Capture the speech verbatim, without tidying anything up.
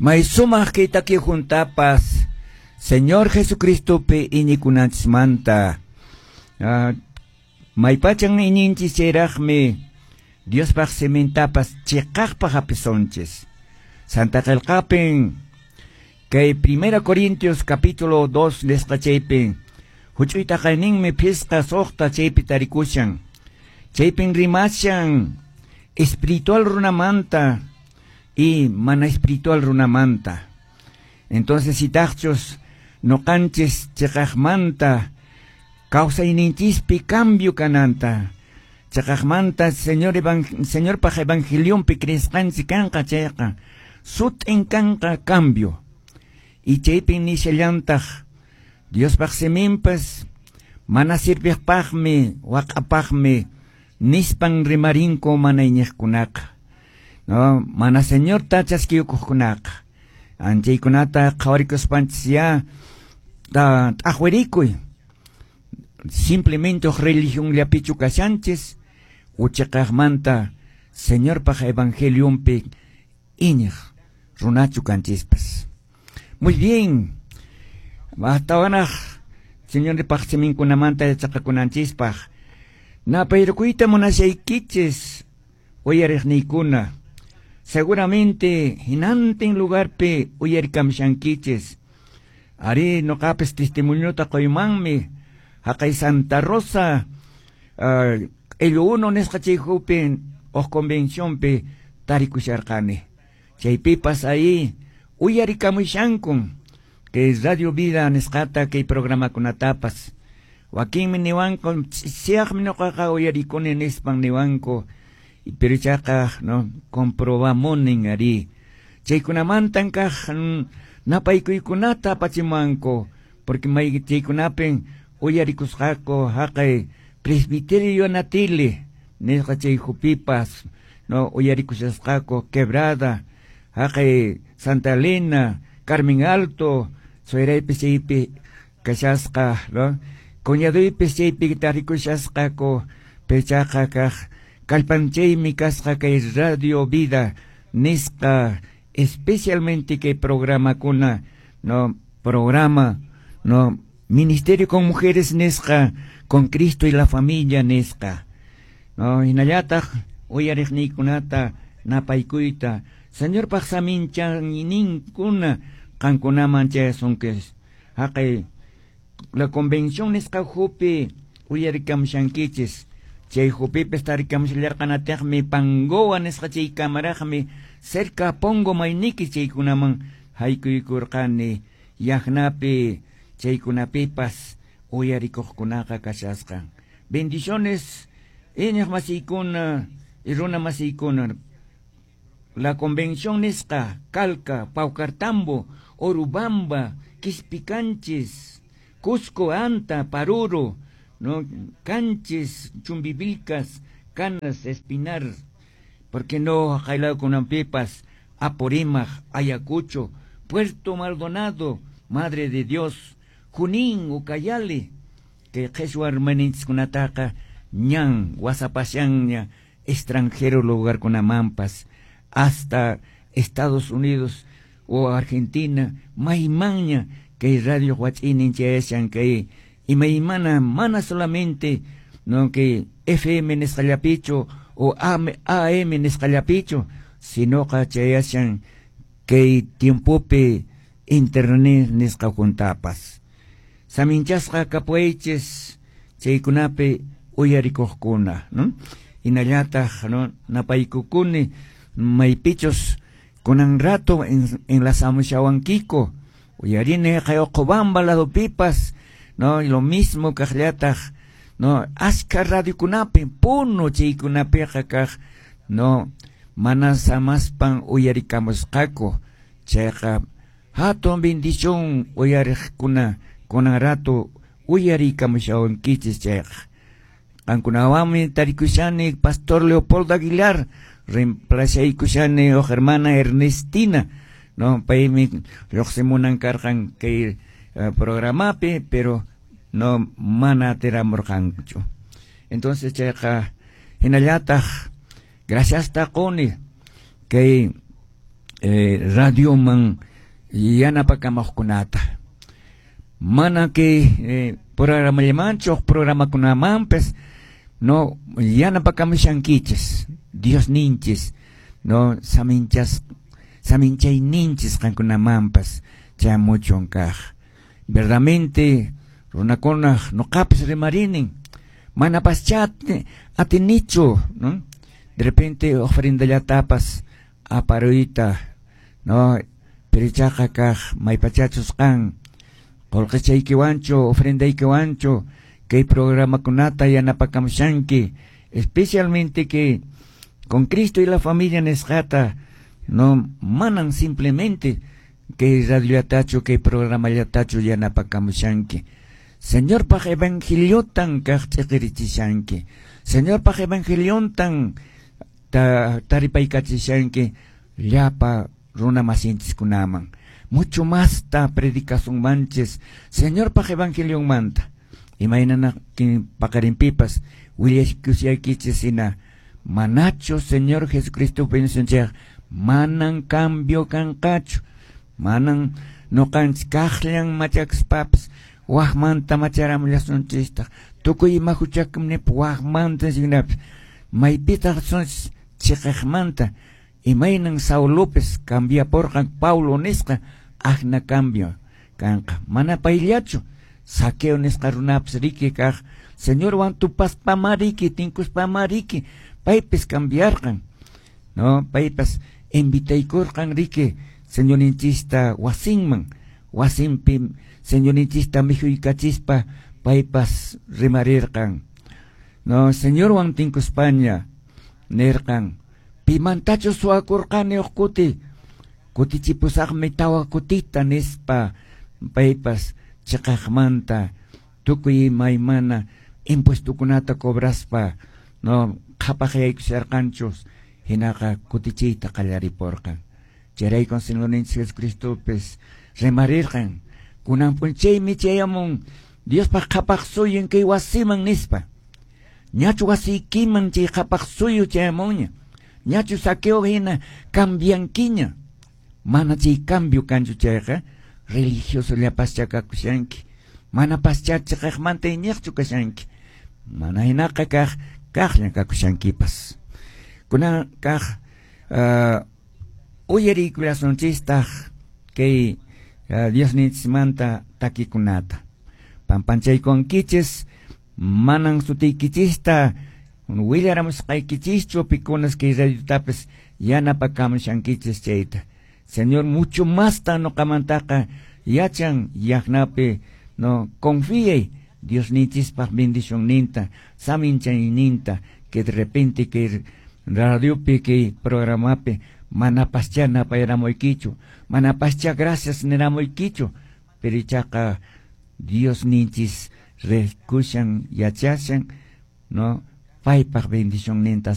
May sumaq kay taki juntapas Señor Jesucristopi iñikunanchismanta. Uh, maypachan iñinchis chayraqmi Diospaq simintapas chiqaqpaq hapisonchis. Santa Qillqapin kay Primera Corintios capítulo dos nisqa chaypin huch'uy taqayninmi phisqa suqta chaypi tarikushan. Chaypin rimashan espiritual runamanta y mana espiritual runamanta. Entonces itaqchus noqanchis chiqaqmanta kawsayninchispi cambio kananta. Chiqaqmanta Señor evan Señorpaq evangelionpi creesqanchis kanqa chayqa sut'in kanqa cambio. Y chaypin nishallantaq Diospaq siminpas mana sirviqpaqmi waq'apaqmi nispan rimarinku mana iñiqkunaqa. No, mana Señorta chaskiyukuqkunaqa. Anchaykunata qhawarikuspanchis ya ta t'aqwirikuy. Simplemente religionllapichu kashanchis uchiqaqmanta Señorpaq evangelionpi iñiq runachu kanchispas. Muy bien. Hasta Señorpaq siminkunamanta yachaqakunanchispaq. Napayrukuyta munashaykichis uyariqniykuna. Seguramente hinantin lugarpi uyarikamshankichis. Ari noqapis testimoniota qoymanmi haqay Santa Rosa uh, el uno nisqa chayhupi uq convencionpi tarikusharqani. Chaypipas ahí uyarikamushankun kay Radio Vida nisqata kay programakunatapas. Wakinmi niwanku siaqmi noqaqa uyarikuni nispan niwanku. Pero chaqa no comprobamunin ari. Chaykunamantan kaq napaykuykunata apachimanku porque may chaykunapin uyarikusqaku haqay presbiterio Natile nisqa chay hupipas no uyarikushasqaku Quebrada haqay Santa Elena Carmen Alto sueraypis chaypi kashasqa no cuñaduypis chaypi tarikushasqaku pechaqa kaq kallpanchaymi kasqa kay Radio Vida nisqa especialmente kay programakuna no programa no Ministerio con Mujeres nisqa con Cristo y la familia nisqa no hinallataq uyariqniykunata napaykuyta Señorpaq saminchayninkuna qankunaman chayasunkichis haqay la convención nisqa hupi uyarikamushankichis chay hupipis tarikamushallarqanataqmi Pangoa nisqa chay kamaraqmi cerca Pongo mayniki chaykunaman haykuykurqani yaqnapi chaykunapipas uyarikuqkunaqa kashasqan. Bendiciones iñiq masiykuna y runa masiykuna. La convención nisqa Calca, Paucartambo, Orubamba, Quispicanchis, Cusco, Anta, Paruro, no Canchis, Chumbivilcas, Canas, Espinar, porque no Jailakunampipas, Apurímac, Ayacucho, Puerto Maldonado, Madre de Dios, Junín, Ucayali, que qheshwa hermaninchiskunataqa ñan wasapashanña extranjero lugarkunamampas hasta Estados Unidos o Argentina, maymanña kay radio wach'inin chayashan kay imaymana mana solamente no que F M nisqallapichu o A M nisqallapichu sinoqa chayashan kay tiempopi internet nisqa juntapas. Saminchasqa kapuaychis chaykunapi uyarikuqkuna, ¿no? Hinallataq, ¿no? Napaykukuni maypichus kunan rato en, en la samushawankiko uyarini Qayuqubamba ladopipas, no, y lo mismo kaqllataq, no, aska radiokunapi Puno chaykunapiqa kaq, no, mana samaspan uyarikamusqaku chayqa hatun bendición uyariqkuna kunan rato uyarikamushawankichis chayqa. Qankunawanmi tarikushani Pastor Leopoldo Aguilar reemplazaykushani uq hermana Ernestina, no, paymi lluqsimunan karqan kay uh, programapi, pero no mana atiramurqanchu. Entonces chayqa hinallataq gracias taquni kay eh, radioman yanapakamuqkunata. Mana kay eh, programallamanchu programakunamanpas no yanapakamushankichis Dios ninchis no saminchas saminchayninchis qankunamanpas chayamuchun kaq. Verdamente runakunaq nuqapis rimarinin manapaschá atinichu, ¿no? De repente ofrendallatapas aparuyta, no, pero ichaqa kaq maypachachus qan qullqichaykiwanchu ofrendaykiwanchu kay programakunata yanapakamushanki, especialmente que con Cristo y la familia nisqata, no manan simplemente kay radiollatachu kay programallatachu yanapakamushanki. Señorpaq evangeliotan kaq ch'iqirichishanki. Señorpaq evangeliontan ta, taripaykachishanki llapa runa masinchiskunaman. Mucho masta predicasunmanchis Señorpaq evangelionmanta. Imaynana paqarinpipas willaskusaykichis hina manachu Señor Jesucristo bendicionchik manan cambio kanqachu, manan nuqanchis kaqllan machakuspapas waqmanta macharamllasunchistaq tukuy ima huchakunip waqmanta hinapis maypitaq sunchis chiqaqmanta imaynan Saulopis cambiapurqan Paulo nisqa akna cambio kanqa mana payllachu Zaqueo nisqa runapas riki kaq Señorwan tupaspama riki tinkuspama riki paypis cambiarqan, no, paypas invitaykurqan riki Señorninchista wasinman wasinpi Señorninchista mikhuykachispa paypas rimarirqan, no, Señorwan tinkuspaña nirqan pimantachu suwakurqani huk kuti kutichipusaqmi tawa kutita nispa paypas chiqaqmanta tukuy imaymana impuestokunata cobraspa no qhapaqyaykusharqanchus hinaqa kutichiyta qallaripurqan. Chayraykun Señorninchik Jesucristopis rimarirqan kunan p'unchaymi chayamun Diospaq qhapaq suyun kay wasiman nispa. Ñachu wasiykiman chay qhapaq suyu chayamunña, ñachu Zaqueo hina cambiankiña. Mana chay cambio kanchu chayqa religioso llapascha kakushanki, mana paschá chiqaqmanta iñiqchu kashanki, mana hinaqa kaq kaqlla kakushankipas. Kunan kaq uh, uyariykullasunchistaq kay uh, Diosninchikmanta takikunata. Pampanchaykunkichis manan sutiykichista willaramusqaykichischu pikunas kay radiotapis yanapakamushankichis chayta. Señor mucho masta nuqamantaqa yachan yaqnapi no confíe Diosninchispaq bendicionninta saminchayninta que de repente que radiopi kay programapi manapaschá napayramuykichu manapaschá gracias niramuykichu, pero ichaqa Diosninchis rikushan yachashan no paypaq bendicionninta.